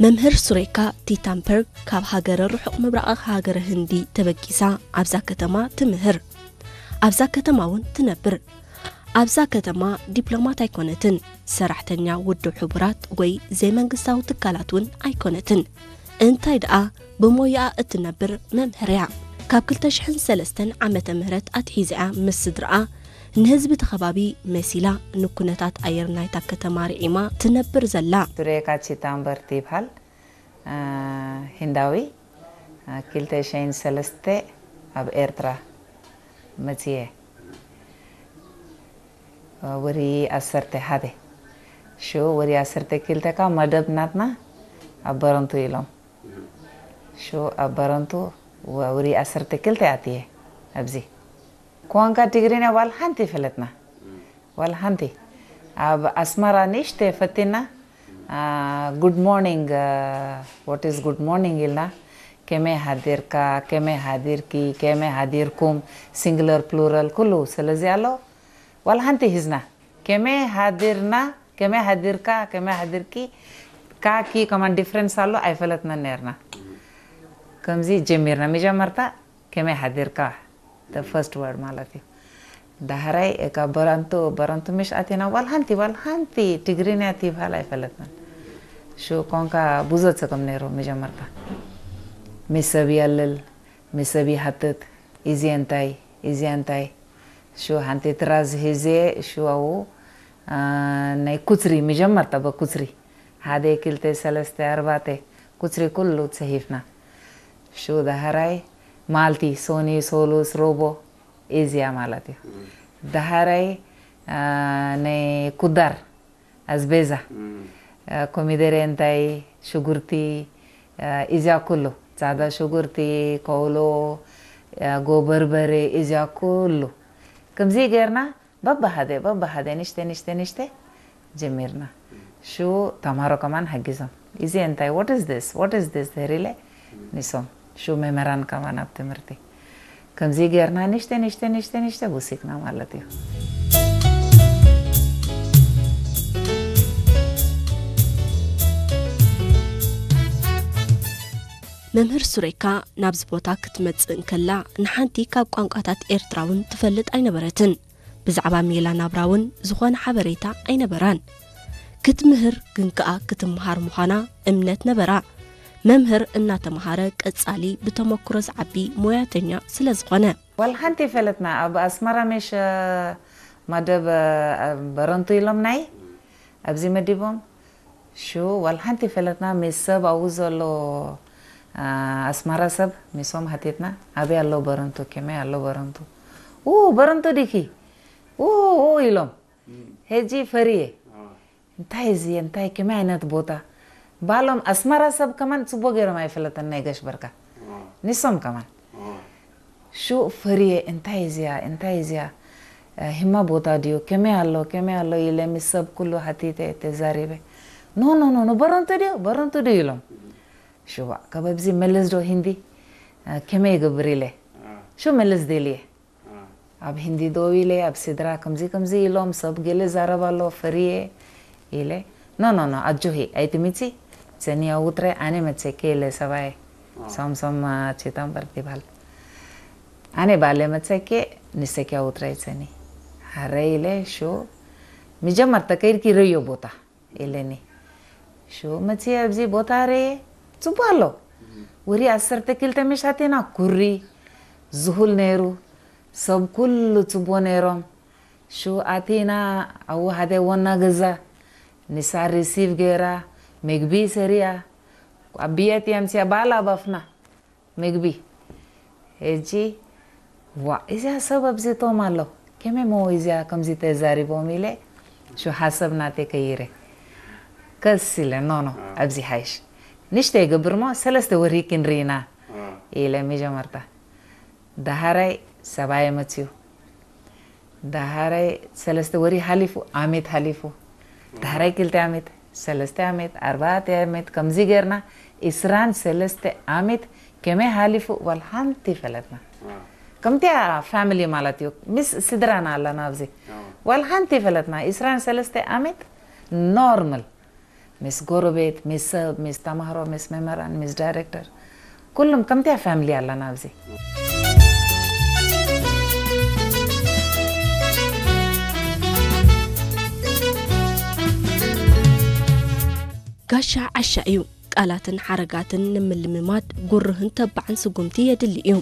መምህር ሱሬካ ቲታምፐርግ ካብ ሃገረ ርሑቕ ምብራቕ ሃገረ ህንዲ ተበጊሳ ኣብዛ ከተማ ትምህር። ኣብዛ ከተማ እውን ትነብር። ኣብዛ ከተማ ዲፕሎማት ኣይኮነትን፣ ሰራሕተኛ ውድብ ሕቡራት ወይ ዘይመንግስታዊ ትካላት እውን ኣይኮነትን። እንታይ ደኣ ብሞያኣ እትነብር መምህር እያ። ካብ ክልተ ሽሕን ሰለስተን ዓመተ ምህረት ኣትሒዛ እያ ምስ ስድራኣ ንህዝቢ እቲ ከባቢ መሲላ ንኩነታት ኣየር ናይታ ከተማ ርዒማ ትነብር ዘላ። ሱሬካ ቺታምበርት ይብሃል። ሂንዳዊ። ክልተ ሽሕን ሰለስተ ኣብ ኤርትራ መፅየ። ወሪ ዓሰርተ ሓደ። ሽዑ ወሪ ዓሰርተ ክልተ ከኣ መደብ ናትና ኣብ በረንቱ ኢሎም። ሽዑ ኣብ በረንቱ ወሪ ዓሰርተ ክልተ ኣትየ ኣብዚ። ኳንካ ትግርኛ ዋላ ሓንቲ ይፈለጥና። ዋላ ሓንቲ። ኣብ ኣስመራ ንእሽተ ፈቲና፣ good morning, what is good morning ኢልና፣ ከመይ ሃዲርካ፣ ከመይ ሃዲርኪ፣ ከመይ ሃዲርኩም፣ ሲንግለር ፕሉራል ኩሉ ስለዚ ኣሎ። ዋላ ሓንቲ ሂዝና። ከመይ ሃዲርና፣ ከመይ ሃዲርካ፣ ከመይ ሃዲርኪ፣ ካኪ ከማን ዲፍረንስ ኣሎ ኣይፈለጥናን ነርና። ከምዚ ጀሚርና መጀመርታ ከመይ ሓዲርካ the first word ማለት እዩ። ዳሕራይ እካ በረንቱ በረንቱ ምሽ ኣቲና ዋል ሓንቲ ዋል ሓንቲ ትግርኛ ትይብሃል ኣይፈለጥናን። ሹ ኮንካ ብዙ ጸገም ነይሩ መጀመርታ። ምስ ሰብ የልል፣ ምስ ሰብ ይሓትት፣ እዚ እንታይ፣ እዚ እንታይ። ሹ ሓንቲ ትራዝ ሂዜ ሹ ኣው ናይ ኩትሪ መጀመርታ በኩትሪ ሓደ ክልተ ሰለስተ ኣርባዕተ ኩትሪ ኩሉ ጽሂፍና። ሹ ዳሕራይ ማልቲ ሶኒ ሶሉስ ሮቦ እዚያ ማለት እዩ። ዳሕራይ ናይ ኩዳር ኣዝቤዛ ኮሚደሬ እንታይ ሽጉርቲ እዚያ ኩሉ ጻዕዳ ሽጉርቲ ከውሎ ጎበርበሬ እዚያ ኩሉ ከምዚ ገርና በብሓደ በብሓደ ንሽተ ንሽተ ንሽተ ጀሚርና። ሽኡ ተምሃሮ ከማን ሓጊዞም እዚ እንታይ what is this what is this ድህር ኢለ ንሶም ሽኡ መምህራን ከማን ኣብ ትምህርቲ ከምዚ ገርና ንሽተ ንሽተ ንሽተ ንሽተ ውሲክና ማለት እዩ። መምህር ሱሬካ ናብዚ ቦታ ክትመጽእ እንከላ ንሓንቲ ካብ ቋንቋታት ኤርትራ እውን ትፈልጥ ኣይነበረትን። ብዛዕባ ሜላ ናብራ እውን ዝኾነ ሓበሬታ ኣይነበራን። ክትምህር ግን ከኣ ክትምሃር ምዃና እምነት ነበራ። መምህር እናተምሃረ ቀጻሊ ብተመክሮ ዝዓቢ ሞያተኛ ስለ ዝኾነ። ዋላ ሓንቲ ይፈለጥና ኣብ ኣስመራ ሜሽ መደብ በረንቱ ኢሎም ናይ ኣብዚ መዲቦም ሽኡ ዋላ ሓንቲ ፈለጥና ምስ ሰብ ኣብኡ ዘሎ ኣስመራ ሰብ ሚሶም ሃቲትና ኣበይ ኣሎ በረንቱ ከመይ ኣሎ በረንቱ ኡ በረንቱ ዲኪ ኡ ኡ ኢሎም ሄጂ ፈርየ እንታይ እዚ እንታይ ከመይ ዓይነት ቦታ ባሎም ኣስመራ ሰብ ከማን ጽቡቅ ገይሮም ኣይፈለጠን ናይ ጋሽ በርካ ንሶም ከማን ሹእ ፈርየ እንታይ እዚኣ እንታይ እዚኣ ህማ ቦታ ድዩ ከመይ ኣሎ ከመይ ኣሎ ኢለ ምስ ሰብ ኩሉ ሓቲተ ተዛሪበ ኖ ኖ ኖ ኖ በረንቱ ድዩ በረንቱ ድዩ ኢሎም ሽዋ ካብ ኣብዚ መለስ ዶ ሂንዲ ከመይ ይገብር ኢለ ሹ መለስ ደልየ ኣብ ሂንዲ ደው ኢለ ኣብ ስድራ ከምዚ ከምዚ ኢሎም ሰብ ገለ ዛረብ ኣሎ ፈርየ ኢለ ኖ ኖ ኖ ኣጆሂ ኣይትምጺ ሰኒ ኣውትረ ኣነ መጸኪ ኢለ ሰባየ ሳምሶም ቼታምበር ይባል ኣነ ባለ መጸኪ ንሰኪ ኣውትረ ሰኒ ሃረ ኢለ ሹ ምጀመርታ ከይድኪ ረዮ ቦታ ኢለኒ ሹ መጺ ኣብዚ ቦታ ረ ጽቡ ኣሎ ወሪ ዓሰርተ ክልተ መሻቴና ኩሪ ዝሁል ነይሩ ሰብ ኩሉ ጽቡ ነይሮም ሹ ኣቲና ኣው ሓደ ወና ገዛ ንሳ ሪሲቭ ገይራ ምግቢ ሰሪያ ኣብ ብየት የምስያ ባላ ባፍና ምግቢ ሕጂ ዋ እዚኣ ሰብ ኣብዚቶም ኣሎ ከመይ ሞ እዚኣ ከምዚ ተዛሪቦም ኢለ ሹ ሓሰብ ናተይ ከይረ ከስ ኢለ ኖ ኖ ኣብዚ ሓይሽ ንሽተ ይገብር ሞ ሰለስተ ወሪ ክንርኢና ኢለ መጀመርታ ዳሃራይ ሰብኣየ መፅዩ ዳሃራይ ሰለስተ ወሪ ሓሊፉ ኣሜት ሓሊፉ ዳሃራይ ክልተ ኣሜት ሰለስተ ኣሜት ኣርባዕተ ኣሜት ከምዚ ገርና እስራን ሰለስተ ኣሜት ከመይ ሓሊፉ ዋል ሓንቲ ፈለጥና ከምቲያ ፋሚሊ ማለት እዩ ምስ ስድራና ኣለና ኣብዚ ዋል ሓንቲ ፈለጥና እስራን ሰለስተ ኣሜት ኖርማል ምስ ጎረቤት፣ ምስ ሰብ፣ ምስ ተማሃሮ፣ ምስ መምህራን፣ ምስ ዳይሬክተር፣ ኩሉም ከምቲያ ፋሚሊ ኣለና ኣብዚ። ጋሻ ዓሻ እዩ። ቃላትን ሓረጋትን ንምልምማድ ጉርህን ተባዕን ስጉምቲ የድሊ እዩ።